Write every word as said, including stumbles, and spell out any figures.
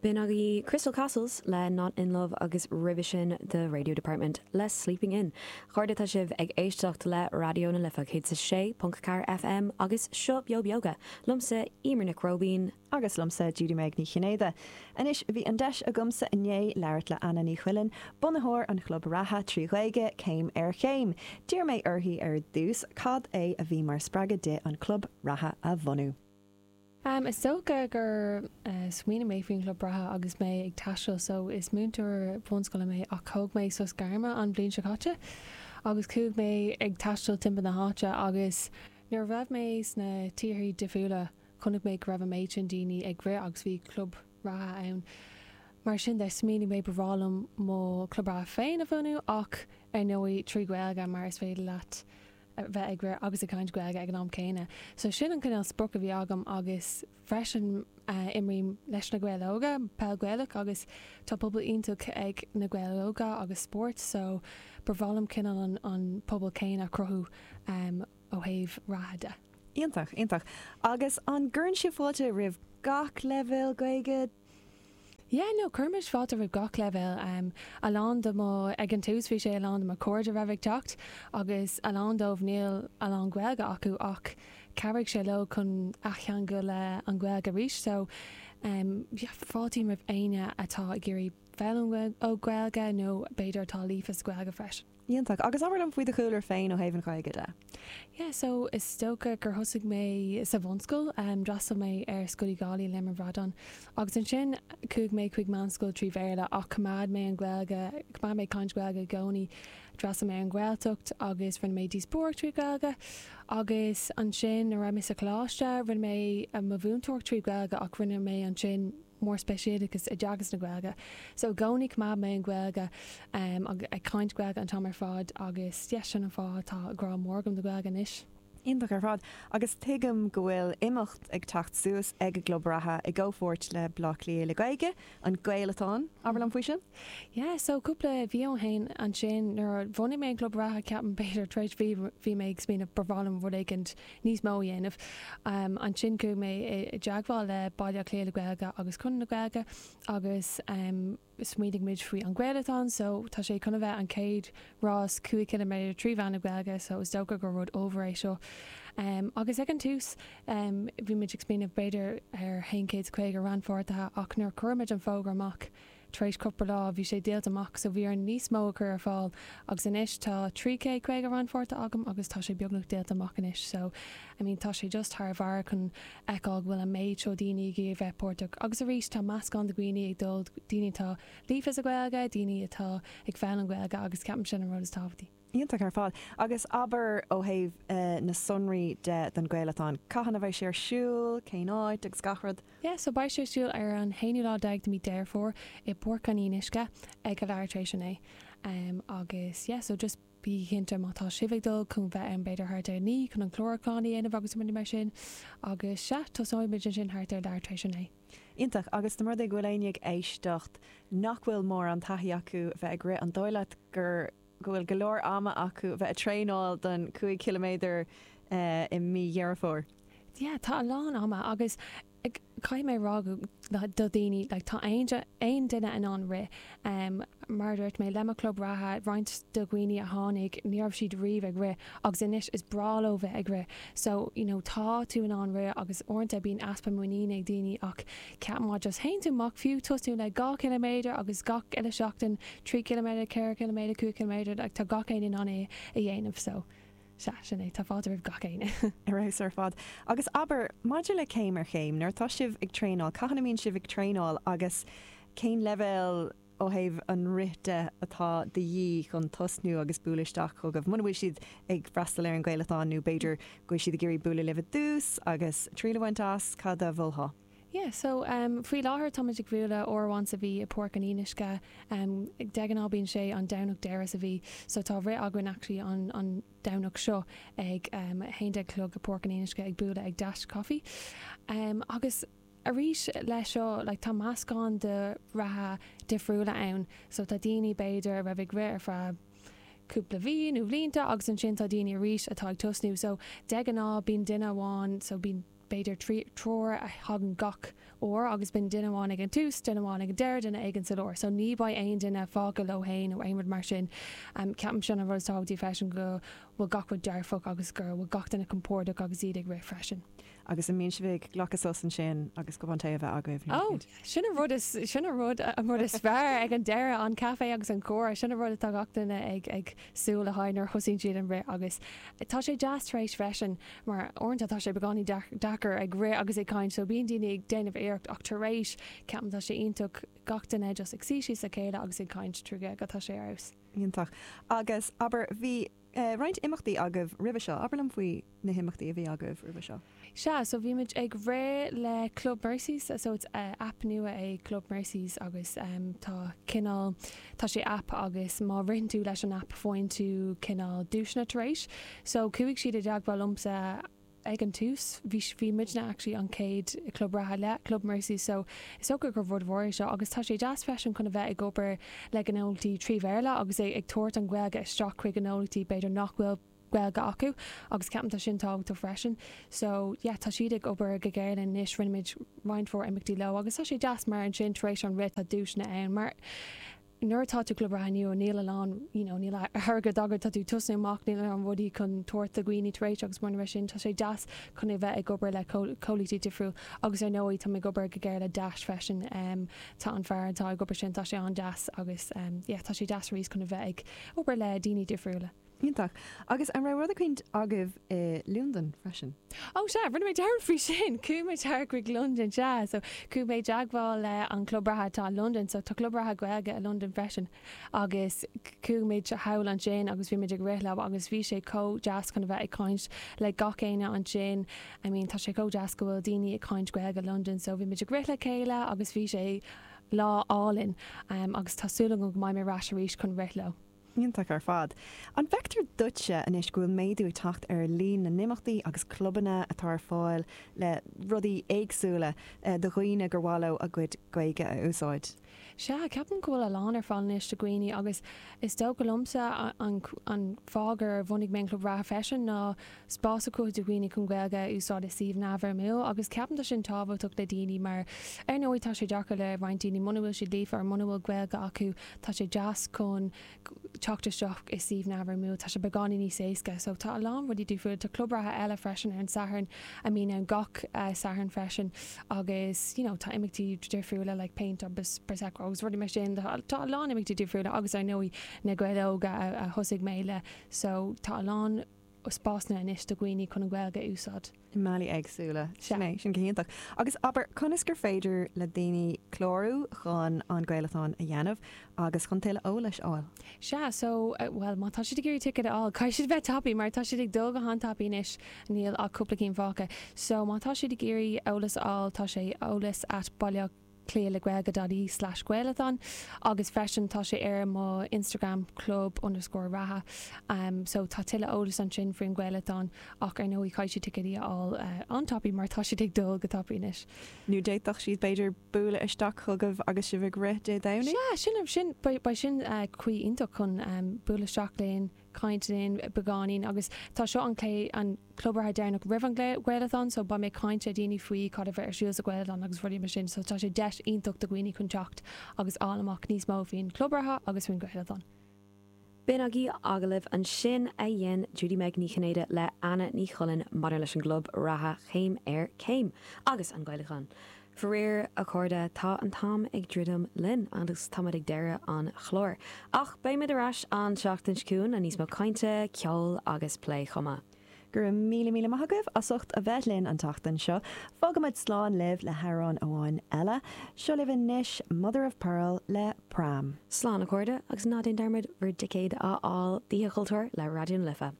B'in agaibh Crystal Castles le Not in Love agus roimhe sin The Radio Department le Sleeping In. Chairde tá sibh ag éisteacht le Raidió na Life céad sé ponc ceathair FM agus seo Beo Beoga, liomsa Eimear Nic Róibín agus liomsa Judy Meg Ní Chinnéide. Anois bhí an deis agamsa inné labhairt le Anna Ní Chuilinn, bunaitheoir an chlub reatha trí Ghaeilge céim ar chéim. D'iarr mé uirthi ar dtús cad é a bhí mar spreagadh di an club reatha a bhunú. Um, is dócha gur uh, smaoinigh mé faoin club reatha agus mé ag taisteal so is múinteoir bunscoile mé ach thóg mé sos gairme an bhliain seo caite agus chuaigh mé ag taisteal timpeall na háite agus nuair a raibh mé sna tíortha difriúla chonaic mé go raibh an méid sin daoine ag rith agus bhí club reatha ann. Mar sin de smaoinigh mé ba bhreá liom mo club reatha féin a bhunú ach ar ndóigh trí Ghaeilge mar is féidir leat bheith ag rith agus ag caint Gaeilge ag an am céanna. So sin an cineál sprioc a bhí agam agus freisin uh, imrím leis na Gaeil Óga peil Ghaelach agus tá pobal iontach ag na Gaeil Óga agus spórt, so ba bhreá liom cineál an, an pobal céanna a chruthú um, ó thaobh reatha de. Iontach, iontach. Agus an gcuireann sibh fáilte roimh gach leibhéal Gaeilge Yeah, no cuirimid fáilte roimh gach leibhéal um, a lán de mo ag an tús bhí sé a lán de mo chairde raibh ag teacht agus a lán dóibh níl a lán Gaeilge acu ach chabhraigh sé leo chun athcheangal le an Ghaeilge arís so um, yeah, fáiltím roimh éinne atá ag iarraidh foghlaim ó Ghaeilge nó b'fhéidir atá líofa sa Ghaeilge freisin. Iontach agus abair liom faoi do chúlra féin ó thaobh an Ghaeilge de. Yeah, so is dócha gur thosaigh mé sa bhunscoil um, d'fhreastail mé ar Scoil Uí Dhálaigh le Bradán. agus ansin chuaigh mé chuig meánscoil trí Bhéarla ach choimeád mé an Ghaeilge choimeád mé caint Gaeilge i gcónaí d'fhreastail mé an Ghaeltacht agus rinne mé díospóireacht trí Ghaeilge agus ansin a raibh mé sa choláiste rinne mé mo mhúinteoireacht trí Ghaeilge ach rinne mé ansin mór speisialachas i dteagasc na Gaeilge. So i gcónaí choimeád mé an Ghaeilge um, ag caint Gaeilge an t-am ar fad agus yes, sin an fáth tá grá mór agam don Ghaeilge anois. Iontach ar fad agus tuigim go bhfuil imeacht ag teacht suas ag an gclub reatha i gcomhpháirt le Bleá Cliath le Gaeilge an Gaelatón abair liom faoi sin? Yeah, so cúpla mhí ó shin ansin nuair a bhunaigh mé an club reatha ceapaim b'fhéidir tar éis mhí bhí mé ag smaoineamh ba bhreá liom rud éigin níos mó a dhéanamh. Um, ansin chuaigh mé i dteagmháil le Baile Átha Cliath le Gaeilge agus Conradh na Gaeilge agus um, smaoinigh muid faoi an Gaelatón, so tá sé chun a bheith an chéad rás cúig ciliméadar trí mheán na Gaeilge, so is dócha gur rud ollmhór é seo. Um, agus ag an tús um, bhí muid ag smaoineamh b'fhéidir ar haon chéad caoga rannpháirtithe ach nuair chuir muid an fógra amach tar éis cúpla lá bhí sé díolta amach so bhí ar níos mó a chur ar fáil agus anois tá trí chéad caoga rannpháirtí agam agus tá sé beagnach díolta amach anois so I mean tá sé just thar barr chun feiceáil go bhfuil an méid seo daoine ag bheith páirteach agus arís tá meascán de dhaoine ag dul daoine atá líofa sa Ghaeilge, daoine atá ag foghlaim an Ghaeilge agus ceapaim sin an rud is tábhachtaí. Iontach ar fad agus abair ó thaobh uh, na sonraí de den Ghaelatón Cathain a bheidh sé ar siúl, cén áit agus gach rud. Yeah, so beidh sé ar siúl ar an haonú lá déag de mí Deireadh Fómhair i bPáirc an Fhionnuisce ag a leathuair tar éis a naoi. Um, agus yeah, so just bí cinnte má tá sibh ag dul chun bheith ann b'fhéidir thart ar naoi chun an clárúchán a dhéanamh agus rudaí mar sin agus sea tosóidh sin thart ar leathuair tar éis a naoi. Iontach agus dá mba rud é go bhfuil éinne ag éisteacht nach bhfuil mórán taithí acu bheith ag rith an dóigh leat gur go bhfuil go leor ama acu bheith ag traenáil don cúig ciliméadar uh, i mí Dheireadh Fómhair. Yeah, tá a lán ama agus caithfidh mé rá do daoine like, tá aon duine in ann rith um, mar dúirt mé le mo club reatha roinnt de dhaoine a tháinig ní raibh siad riamh ag rith agus anois is breá leo bheith ag rith. So you know, tá tú in ann rith agus uaireanta bíonn easpa muiníne ag daoine ach ceap má just théann tú amach fiú tosú le dhá ciliméadar agus gach uile seachtain trí ciliméadar, ceithre ciliméadar, cúig ciliméadar, like, tá gach éinne in ann é a dhéanamh so. Sea sin é tá fáilte roimh gach éinne. Ar fheabhas ar fad. Agus abair maidir le céim ar chéim, nuair atá sibh ag traenáil, cathain a mbíonn sibh ag traenáil agus cén leibhéal ó thaobh an rith de atá de dhíth chun tosnú agus bualadh isteach chugaibh. Muna bhfuil siad ag freastal ar an Ghaelatón nó b'fhéidir go bhfuil siad ag iarraidh bualadh libh i dtús agus triail a bhaint as cad a mholfá. Yeah, so um, faoi láthair táimid ag bualadh uair amháin sa mhí i Páirc an Fhionnuisce um, de ghnáth bíonn sé an Domhnach deireadh sa mhí, so tá rith againn actually an, an Domhnach seo ag um, haon déag a chlog i Páirc an Fhionnuisce ag bualadh ag Dash Coffee. Um, agus arís leis seo like, tá meascán de reatha difriúla ann, so tá daoine b'fhéidir a raibh ag rith ar feadh cúpla mhí nó blianta agus ansin tá daoine arís atá ag tosnú, so de ghnáth bíonn duine amháin so bíonn b'fhéidir triúr a thagann gach uair agus bíonn duine amháin ag an tús, duine amháin ag an deireadh, duine éigin sa lár. So ní bheidh aon duine fágtha leo féin nó aon rud mar sin. Um, ceapaim sin an rud is tábhachtaí freisin go bhfuil gach rud dearfach agus go bhfuil gach duine compordach agus iad ag rith freisin. Agus an mbíonn sibh ag glacadh sos ansin agus cupán tae a bheith agaibh. Oh, sin an rud is sin an rud an rud is fearr ag an deireadh an caife agus an comhrá sin an rud atá gach duine ag ag súil le haghaidh nuair a thosaíonn siad an rith agus tá sé deas tar éis freisin mar uaireanta tá sé beagáinín deacair ag rith agus ag caint so bíonn daoine ag déanamh iarracht ach tar éis ceapaim tá sé iontach gach duine just ag suí síos le chéile agus ag caint trí go tá sé arís. Iontach. Agus abair bhí uh, roinnt imeachtaí agaibh roimhe seo, abair liom faoi na himeachtaí a bhí agaibh roimhe seo. Sea, so bhí muid ag rith le Club Mercies, so it's uh, app nua é Club Mercies agus um, tá cineál tá sé app agus má ritheann tú leis an app faigheann tú cineál duaiseanna tar éis. So chuaigh siad i dteagmháil liomsa ag an tús bhí bhí muidne actually an chéad club reatha le Club Mercy so is dócha gur rud mhór é seo agus tá sé deas freisin chun a bheith ag obair le gnólachtaí trí Bhéarla agus é ag tabhairt an Ghaeilge isteach chuig gnólachtaí b'fhéidir nach bhfuil Gaeilge acu agus ceapaim tá sin tábhachtach freisin. So yeah, tá siad ag obair go géar anois rinne muid roinnt mhór imeachtaí leo agus tá sé deas mar ansin tar éis an rith tá duaiseanna ann mar nuair atá tú club reatha nua níl a lán you know, níl airgead agat tá tú tosnú amach níl an rudaí chun tabhairt do dhaoine tar éis agus mar sin tá sé deas chun é bheith ag obair le comhlachtaí difriúil agus ar ndóigh tá ag obair go géar le Dash freisin um, tá an fear atá ag obair sin tá sé an-deas agus um, yeah, tá sé deas arís chun a bheith ag obair le daoine difriúla. Iontach. Agus an raibh rud éicint agaibh i Londain freisin. Ó sea, rinne mé dearmad faoi sin, chuaigh mé thar chuig London sea, so chuaigh mé i dteagmháil le an club reatha atá i London, so tá club reatha Gaeilge i London freisin agus chuaigh muid thall ansin agus bhí muid ag rith leo agus bhí sé chomh deas chun a bheith ag caint le gach éinne ansin. I mean tá sé chomh deas go bhfuil daoine ag caint Gaeilge i London, so bhí muid ag rith le chéile agus bhí sé lá álainn um, agus tá súil agam go mbeidh mé ar ais arís chun rith leo. Iontach ar fad. An bhfeictear duitse anois go bhfuil méadú ag teacht ar líon na n-imeachtaí agus clubanna atá ar fáil le rudaí éagsúla eh, do dhaoine gur mhaith leo a gcuid Gaeilge a úsáid. Sea, ceapaim go bhfuil a lán ar fáil anois do dhaoine agus is dócha liomsa an, an fáth gur bhunaigh mé an club reatha freisin ná spás a chruthú do dhaoine chun Gaeilge a úsáid i suíomh neamhfhoirmiúil agus ceapaim tá sin tábhachtach le daoine mar ar ndóigh tá sé deacair le roinnt daoine muna bhfuil siad líofa ar muna bhfuil Gaeilge acu tá sé deas chun teacht isteach i suíomh neamhfhoirmiúil tá sé beagáinín níos éasca, so tá a lán rudaí difriúla tá club reatha eile freisin ar an Satharn a mbíonn ann gach uh, Satharn freisin agus you know, tá imeachtaí difriúla like paint agus prosecco agus rudaí mar sin tá tá a lán imeachtaí difriúla agus ar ndóigh na Gaeil Óga a, a thosaigh mé le so tá a lán spásanna anois do dhaoine chun an Ghaeilge a úsáid. I mbealaí éagsúla Sea. sin é sin go hiontach. Agus abair conas gur féidir le daoine clárú chun an Gaelathon a dhéanamh agus chun tuilleadh eolais a fháil. Sea, so uh, well má tá siad ag iarraidh ticket a fháil, caithfidh siad bheith tapaidh mar tá siad ag dul go han-tapaidh anois níl ach cúpla cinn fágtha. So má tá siad ag iarraidh eolas a fháil tá sé eolas at baile cliath le gaeilge.ie slash Gaelathon agus freisin tá sé ar mo Instagram club underscore reatha um, so tá tuilleadh eolas ansin faoin Gaelathon ach ar ndóigh caithfidh siad ticéidí a fháil uh, an-tapaidh mar tá siad ag dul go tapaidh anois. Nó d'fhéadfadh siad b'fhéidir bualadh isteach chugaibh agus sibh ag rith Dé Domhnaigh? Sea, sin sin ba sin uh, caoi iontach chun um, bualadh isteach linn caint linn beagáinín agus tá seo an clé an club reatha deireanach roimh an Gaelathon so beidh mé caint le daoine faoi cad a bheidh ar siúl sa Ghaelathon agus rudaí mar sin so tá sé deis iontach do dhaoine chun teacht agus fháil amach níos mó faoin club reatha agus faoin Ghaelathon. B'in agaibh agallamh ansin a dhein Judy Meg Ní Chinnéide le Anna Ní Chulainn maidir leis an gclub reatha chéim ar céim agus an Gaelathon. Faraor a chairde tá an t-am ag druidim linn agus táimid ag deireadh an chláir. Ach beimid ar ais an seachtain seo chugainn le níos mó cainte, ceol agus plé chomh maith. Gur míle míle maith agaibh as ucht a bheith linn an tseachtain seo, fágaimid slán libh le hamhrán amháin eile, seo libh anois Mother of Pearl le Pram. Slán a chairde agus ná déan dearmad bhur dticéid a fháil d'Oíche Chultúir le Raidió na Life.